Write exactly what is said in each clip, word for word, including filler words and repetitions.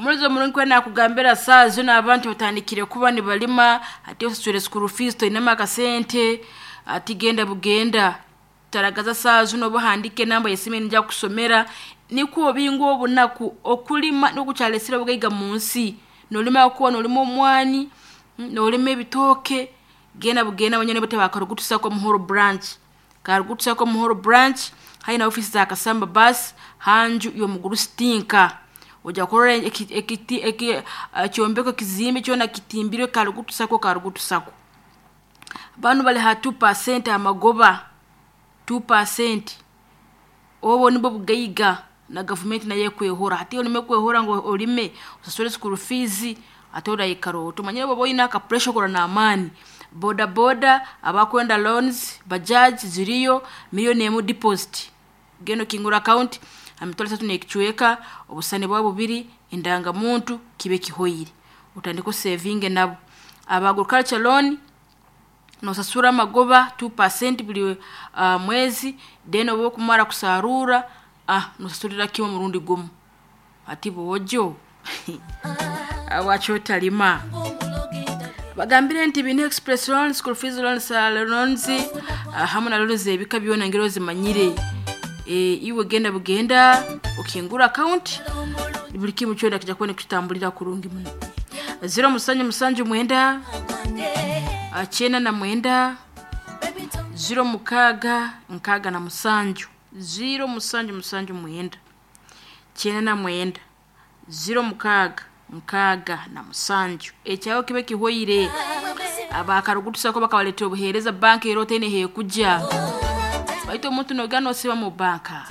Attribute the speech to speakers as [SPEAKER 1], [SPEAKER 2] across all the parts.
[SPEAKER 1] Omulizo omurungi kwena nakugambira saa zino abantu batandikire kuba nibalima, ati osaswire school fees toinemu akasente, ati genda bugenda taragaza saa zino obuhandike enamba y'esimu nija kukusomera nikwo obinga obunaku. Okulima nikukyalesire obugaiga mu nsi. Nolima kuba nolima omwani, nolima ebitooke, genda bugenda abanyene bote bakarugutusako Muhoro branch. Karugutusako Muhoro branch haihi na ofisi za Kasamba bus hanju y'omugurusi tinka. Ojja kurora ekiti ekyombeko kizimbe kyona kitimbirwe karugutusako karugutusako. Banu bali ha two percent amagoba two percent obwo nibwo bugaiga na gavumenti nayo ekwehora. Hati olime kwehora ngu olime osasule school fees ate oraikara ota omanyire bwoba oine aka pressure okora n'amaani. Boda boda abakwenda loans, bajaj ziriyo million emu deposit. Genda okingura account emitwaro esatu n'ekicweka, obusani bwawe bubiri, endangamuntu kibe kihoire. Otandike osevinge nabo. Aba agriculture loan nosasura amagoba two percent buli uh, mwezi, then obu okumara kusarura ah nosasurira kimwe omurundi gumu. Ati bwojo waaki otalima. Bagambire nti biine express loans, school fees loans, loans hamu na loans ebika byona ngeri ozimanyire. E, iwe genda bugenda okingura account buli kimu kyona kijja kuba nikitambulira kurungi muno. Zero musanju musanju mwenda kyenda na mwenda zero mukaaga nkaaga na musanju zero musanju musanju mwenda kyenda na mwenda zero mukaaga nkaaga na musanju. Ekyawe kibe kihoire. Abakarugutusako bakabaletera obuheereza banka era otaine hekujja. Baitu omuntu nogenda nosiba mu banka,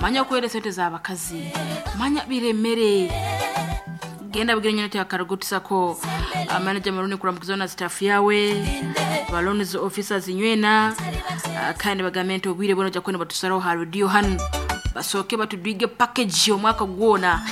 [SPEAKER 1] manya okuheera esente z'abakazi, manya biremere. Genda bugire nyine akarugutusako manager Maruni kuramukiza na staff yawe, ba loans officers nywena, kandi bagambe nti obwire bwona ojja kuba nibatusaraho ha radio hanu basooke batudwige package omwaka gwona.